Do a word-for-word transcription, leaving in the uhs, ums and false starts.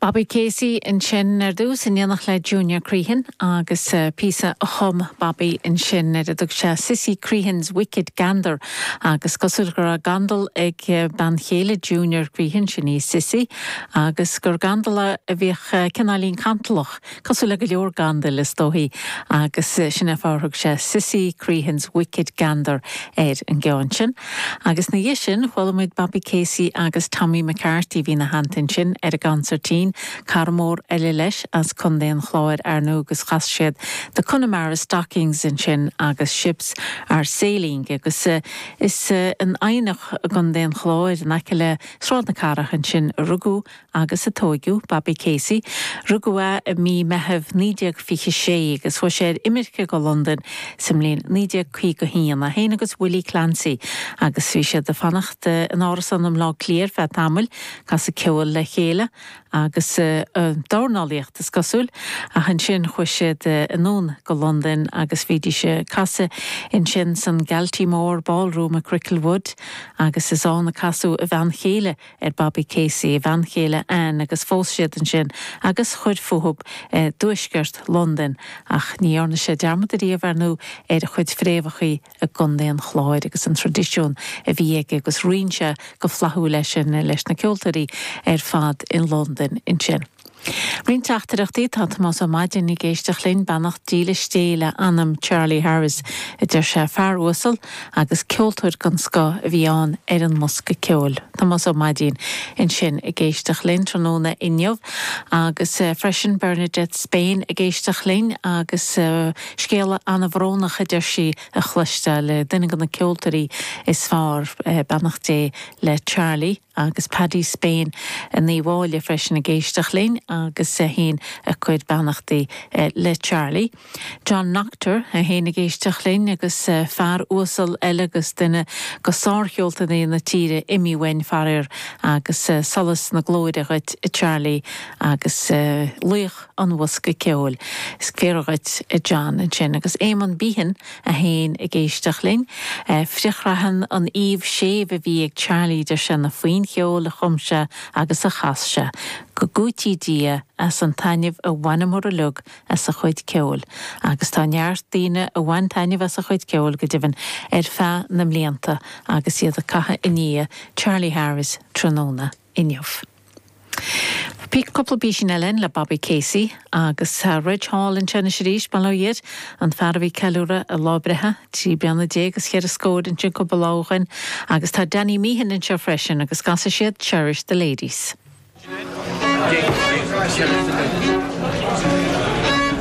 Bobby Casey ansin ar dtús in éineacht le Junior Crehan agus uh, píosa a chum Bobby ansin ar a dtug sé Sissy Crehan's Wicked Gander agus cosúil go raibh gandal ag uh, bean chéile Junior Crehan sin í Sissy agus gur gandal a bhíodh uh, cineáilín cantalach cosúil le go leor gandail is dóichí agus sin an fáth ar thug sé Sissy Crehan's Wicked Gander ar an gceann sin. Agus ina dhiaidh sin chuala muid Bobby Casey agus Tommy McCarthy bhí ina theannta sin ar an gconsairtín cara mór eile leis as Contae an Chláir ar ndóigh agus chas siad The Connemara Stockings ansin agus Ships are Sailing agus uh, is uh, in Eidhneach i gContae an Chláir in aice le Sráid na Cathrach ansin a rugadh agus a tógadh Bobby Casey, Rugadh é i mí Mheithimh naoi déag fiche sé agus chuaigh sé ar imirce go London sa mbliain naoi déag caoga haon é féin agus Willie Clancy agus bhí siad ag fanacht in árasán i mBaile Átha Cliath ar feadh tamaill casadh ceol le chéile agus uh, dornálaíocht is cosúil ach ansin chuaigh siad uh, anonn go London agus bhídís ag casadh ansin san Galtymore Ballroom i Cricklewood agus is ann a casadh a bhean chéile ar Bobby Casey a bhean chéile Ann agus phós siad ansin agus chuir fúthu eh, dtuaisceart London ach ní dhearna sé dearmad riamh ar ndóigh ar a chuid fréamhacha i gContae an Chláir agus an traidisiún a bhí aige agus roinn sé go flaithiúil leis sin leis na ceoltóirí ar fad in London ansin. Roinnt teachtaireachtaí tá Tomás Ó Maidin ag éisteacht linn beannacht dílis Dé le anam Charlie Harris a deir sé fear uasal agus ceoltóir den scoth a bhí ann ar an mbosca ceoil. Tomás Ó Maidin ansin ag éisteacht linn tráthnóna inniu agus uh, freisin Bernadette Spain ag éisteacht linn agus uh, scéala an-bhrónach a deir sí a chloisteáil le duine de na ceoltóirí is fearr uh, beannacht Dé le Charlie agus Paddy Spain in Uíbh Fhailí freisin ag éisteacht linn agus é féin ag cur beannachtaí le Charlie. John Noctor é féin ag éisteacht linn agus fear uasal eile agus duine de shárcheoltóirí na tíre imithe uainn faraor agus solas na glóire dhuit Charlie agus laoch an bhosca ceoil. Is fíor dhuit John ansin agus Éamon Behan é féin ag éisteacht linn. Frithchraitheann an aoibh séimh a bhí ag Charlie de sin na faoin cheol a chum sé agus a chas sé, go gcúití Dia as an taitneamh a bhaineamar uilig as a chuid ceoil, agus tá neart daoine a bhain taitneamh as a chuid ceoil go deimhin ar feadh na mblianta agus iad ag caitheamh i ndiaidh Charlie Harris tráthnóna inniu. Cúpla píosa eile le Bobby Casey agus Reg Hall ansin arís bail an fear a bhí ag ceiliúradh a lá breithe trí bliana déag agus cheithre scór ansin cúpla lá ó shin agus tá Danny Meehan anseo freisin agus casfaidh siad Cherish the Ladies. Cherish the Ladies.